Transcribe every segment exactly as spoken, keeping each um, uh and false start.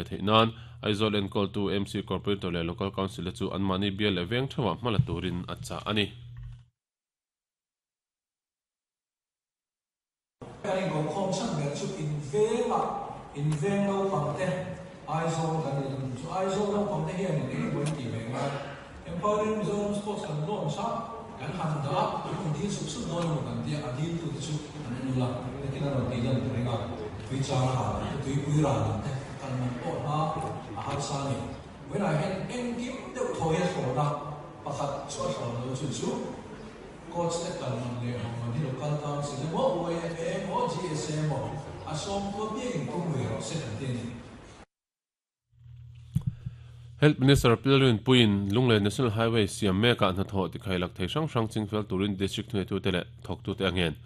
le theinan Aizawl enkol tu M C Corporator le Local Council chu an mani bial le veng thawa hmala turin acha ani. Kan in khom chan ber chu in venga in veng lo pangte Aizawl kan ni chu Aizawl lo pangte hian in eng ti ve nga Empowering Mizoram Sports kan launch a kan han da an dil sup sup dawn kan tia a dil tu chu an nula lekin an ti lan renga tui chang ha tui pui ra te kan man pawh na a har sa ni when I had eng kim deuh thawi a thlawna pakhat chu a thlawn lo chu chu coach te kan man le man hi local council mo U M A mo G S A mo a som ko bi in tum ve ro se kan ti ni. Health Minister Pilrin Puin Lunglei National Highway siam meka na tho ti khailak thei hrang hrang chingfel turin district thunei tu te le thok tu te angen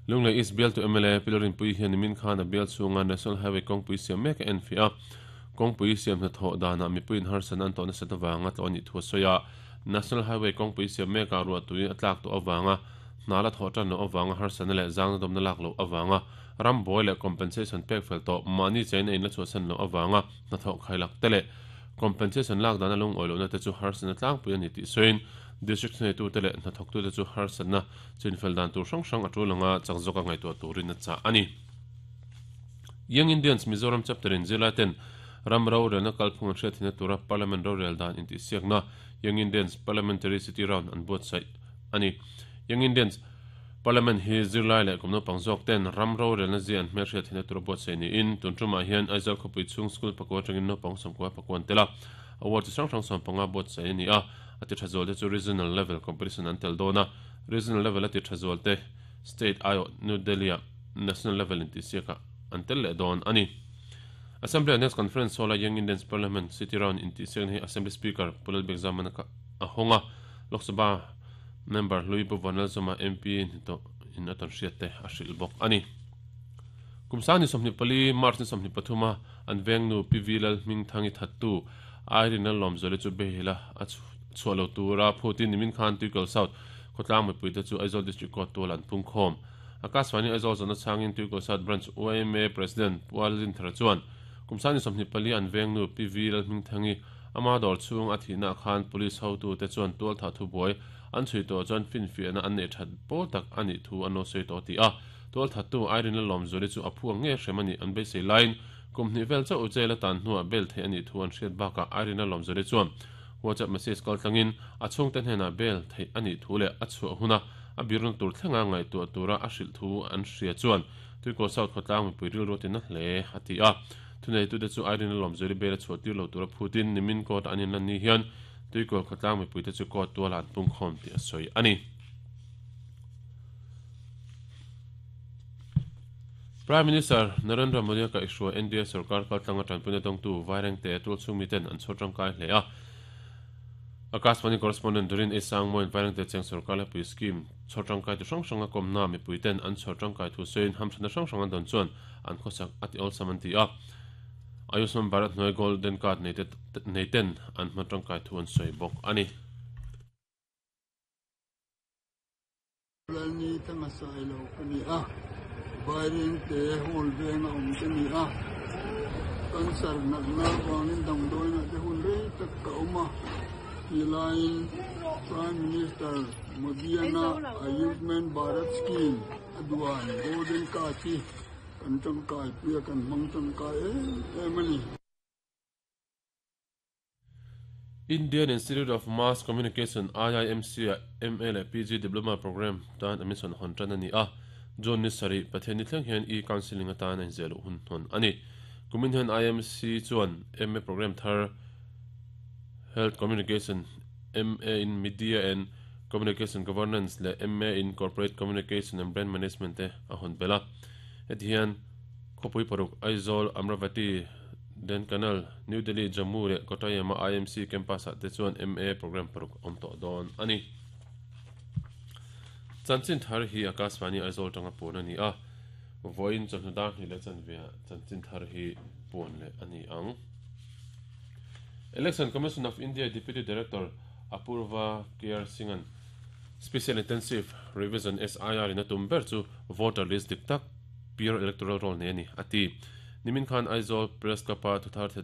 Lunglei East Bial to M L A Pilrin Pui hian min khan a bial chunga National Highway kawngpui siam meka en fi a kawngpui siam na tho dana mi puin har san an to na sata wanga tlo ni thu soya National Highway kawngpui siam meka ruwa tui atlak to awanga nala tho tan no awanga har san le zang dom na lak lo awanga ram boy le compensation pek fel to mani chain in la chu san lo awanga na tho khailak tele compensation lak dana lung oilo na te chu har san tlang pui ani ti soin district nei tu tele na thok tu te chu har san na chinfel dan tur hrang hrang atulanga changzoka ngai to turin na cha ani. Young Indians Mizoram chapter in Zilaten ram ro rel na kalphung hre thina tura parliament ro rel dan inti siakna Young Indians Parliamentary City Round an boat sai ani. Young Indians Parliament hi zirlai le kumno pangzok ten ram ro rel na zian hmer hre thina tura boat sai ni in tuntruma hian Aizawl khopui chung school pakwa tangin no pang som kwa pakwan tela award sang sang som panga boat sai ni a ati thazol te chu regional level competition an tel dona regional level ati thazol te state ayo New Delhi national level inti siaka an tel le don ani. Assembly next conference sola Young Indians Parliament City Round inti siak hi Assembly Speaker Pulal Bekzaman ka ahonga Lok Sabha member Louis Bovanal Zoma M P to in aton hriat te a hril bawk ani. Kumsani somni pali March ni somni pathuma an vengnu P V Lal hming thangi thattu Irene Lomzole chu behila a chualo tura phutin nimin khan Tuikal South khotlang mipui te chu Aizawl District Court tual an pung khom Akaswani Aizawl zona changin Tuikal South Branch U M A President Pualin Thara chuan kumsani somni pali an vengnu P V Lal hming thangi ama dawr chung a thihna khan police hotu te chuan tual tha thu buai an chui to chuan fin fiahna an nei that pawl tak ani thu an lo sawi tawh ti a tual thattu Irene Lomzole chu a phuang nge hrem ani an beisei line kumhnih vel chauh jail atan hnuah bel thei ani thu an hriat bakah Irene Lomzole chuan WhatsApp message kal tlangin a chhungte hnenah bel thei ani thu le a chhuah huna a birun tur thlenga ngai tu tura a hrilh thu an hria chuan Tuikal South khawtlang mipui ril ruatin a hle a ti a thunei tu te chu Irene Lomzole bel a chhuah tir lo tura phutin nimin court an in lan ni hian Tuikal khawtlang mipui te chu court tual an pung khawm ti a sawi ani. Prime Minister Narendra Modi ka isua N D A sarkar kaltlanga tanpuna dongtu vaireng te tul chungmiten an chhotang kai hle a Akaswani correspondent Durin Esang moin vaireng te cheng sarkar la pui scheme chhotang kai tu hrang hranga komna mi puiten an chhotang kai thu sein hamthana hrang hrang an don chuan an khosak ati ol samanti a Ayushman Bharat noi golden card nei te nei ten an hmatang kai thu an soi bawk ani. Ni tanga sai lo kani a vaireng te hol venga om te ni a kansar nak na wangin dang doi na te hun re tak ka oma line Prime Minister Modi na Ayushman Bharat scheme aduan golden card chi kan tang kai puya kan mang tang kai e mani. Indian Institute of Mass Communication I I M C M A le P G Diploma Program tan admission hon tan ani a John Nisari Patheni thleng hian e counseling atan an zelu hun hon ani kumin hian I M C chuan M A program thar Health Communication M A in Media and Communication Governance le M A in Corporate Communication and Brand Management te a hon bela etihian khopui paruk Aizawl Amravati Denkanal New Delhi Jammu le Kottayam I M C campus te chuan M A program paruk om to don ani. Chanchin thar hi Akaswani Aizawl tanga pun ani a voin chawhnu ni le chanvia chanchin thar hi pun le ani ang. Election Commission of India Deputy Director Apurva K R Singhan Special Intensive Revision S I R in a tumber chu voter list dik tak pure electoral roll ne ani ati nimin khan Aizawl press kapa thuthar thedar